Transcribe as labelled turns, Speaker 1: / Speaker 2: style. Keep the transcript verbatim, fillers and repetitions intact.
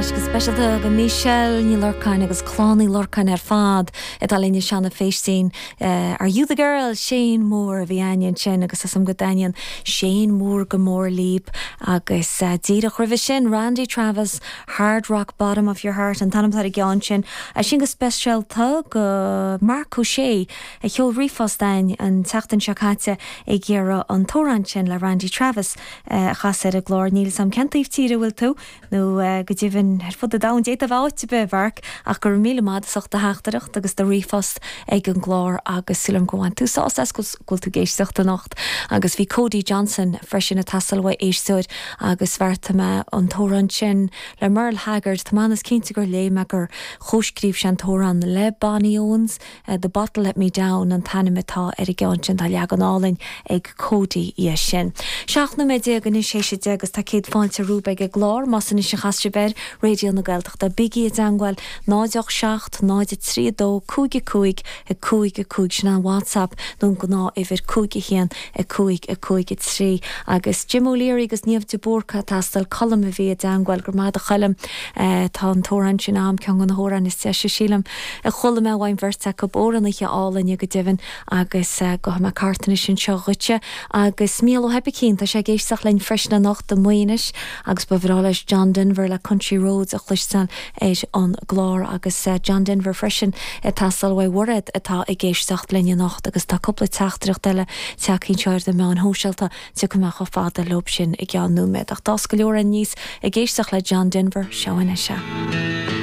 Speaker 1: Anois go speisialta go Michelle Ní Lorcáin agus Clann Uí Lorcáin ar fad atá linn anseo na Féistín Are You the Girl Shane Moore a bhí againn ansin agus is go dtaitníonn Shane Moore go mór libh agus uh, díreach roimhe sin Randy Travis Hard Rock Bottom of Your Heart an t-ainm ar an gceann sin a sin go speisialta go Mark O'Shea a sheol ríomhphost chugainn an tseachtain seo caite ag iarraidh an t-amhrán sin le Randy Travis uh, a chasadh ar an gclár níl a fhios agam cén taobh tíre bhfuil tú nó uh, go deimhin ar fud an domhain d'fhéadfá áit ar bith Mharc ach gur míle maith as ucht do theachtaireacht agus do ríomhphost ag an gclár agus sílim go bhfuil tú sásta go bhfuil tú ag éisteacht anocht agus bhí Cody Johnson freisin ag teastáil ó éisteoir agus bheartaigh mé an t-amhrán sin le Merle Haggard Tá mé cinnte gur léigh mé gur chomhscríobh sé an t-amhrán le Bonnie Owens uh, The Bottle Let Me Down an t-ainm atá ar an gceann sin tá leagan álainn ag Cody é sin. Seacht nóiméad déag anois théis a deich agus tá céad fáilte romhaibh ag an gclár más anois a chas sibh ar Raidió na Gaeltachta bígí i dteagmháil náid seacht náid trí dó cúig cúig a cúig a cúig sin an WhatsApp nó gnáthuimhir cúig a haon a cúig a cúig a trí agus Jim O'Leary agus Niamh de Búrca ag teastáil Colm a bhí i dteagmháil go maith a Choilm tá an t-amhrán sin am ceann de na hamhráin is deise sílim a chuala mé ón mbeirt acu amhránaithe álainn go deimhin agus go mé cartanna sin seo dhuitse agus Mícheál Ó hOibicín tá sé ag éisteacht linn freisin anocht i Maínis agus ba bhreá leis John Denver le Country Roads a chloisteáil ar an gclár agus uh, John Denver freisin teastáil ó Mhairéad atá ag éisteacht linn anocht agus tá cúpla teachtaireacht eile tagtha anseo ar na meáin shóisialta tiocfaidh mé chomh fada leo sin i gceann nóiméad ach tá go leor níos ag éisteacht le John Denver seo anois.